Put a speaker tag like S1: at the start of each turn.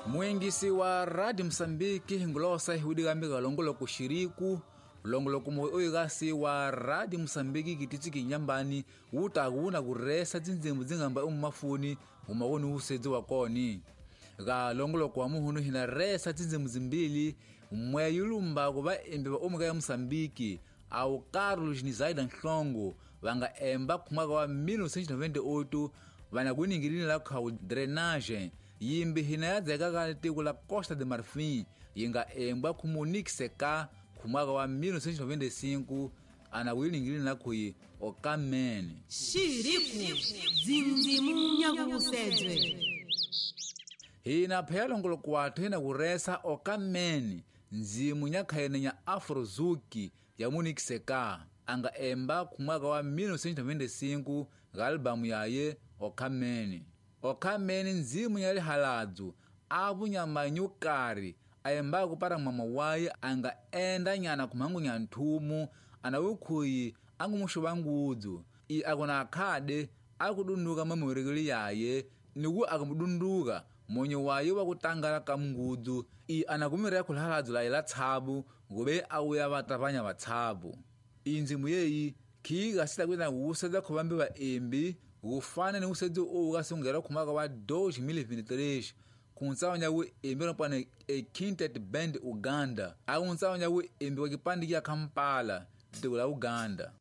S1: Muingisi wa Radio Moçambique ngulosa ihudikambika longoloko xiriku longoloko moyo oyikasi wa Radio Moçambique kititsi kinyambani wutaku wuna kuresa dzindzimbu dzingamba umumafuni umakoni wusedzi wa koni ka longoloko wa muhunu hina resa dzindzimbu zimbili mmwe yulumba kuva embi va omuka ya Moçambique au Carlos Nizaida Nhlongo vanga emba khumaka wa 1998 vana kuningilini la khau drainage yimbi hina ya dzeka ka tiko la Costa de Marfin yi nga embwa khu Monique Seka khumaka wa 1995 ana kuyilingilini la khuyi okamene
S2: Xiriku dzindzimu nyakusedzwe.
S1: Hina phela longoloko wathu hina kuresa okamene ndzimu nyakhaene nya Afrozuki ya Monique Seka anga emba khumwaka wa 1995 nga albamu yaye Okamene. Okamene ndzimu ya lihaladzu avunyamanyukari ayembaku para mama waye anga enda nyana kumhangu nya nthumu ana wukhuyi angumuxuva ngudzu i akuna akhade akudunduka mamurekeli yaye niku akamudunduka monyo waye wa kutangala ka mungudzu i anakumireya khulihaladzu laye la tshabu ngove awuya vatavanya vatshabu. Indzimu yeyi khiika sitakwina wusedza khuvambi vaembi wufana ni wusedzi owu kasungela khumaka wa 2023 kuntsawanya wuembi lopana e Quintet Band Uganda akuntsawa wuembi wa kipandi kya Kampala tiko la Uganda.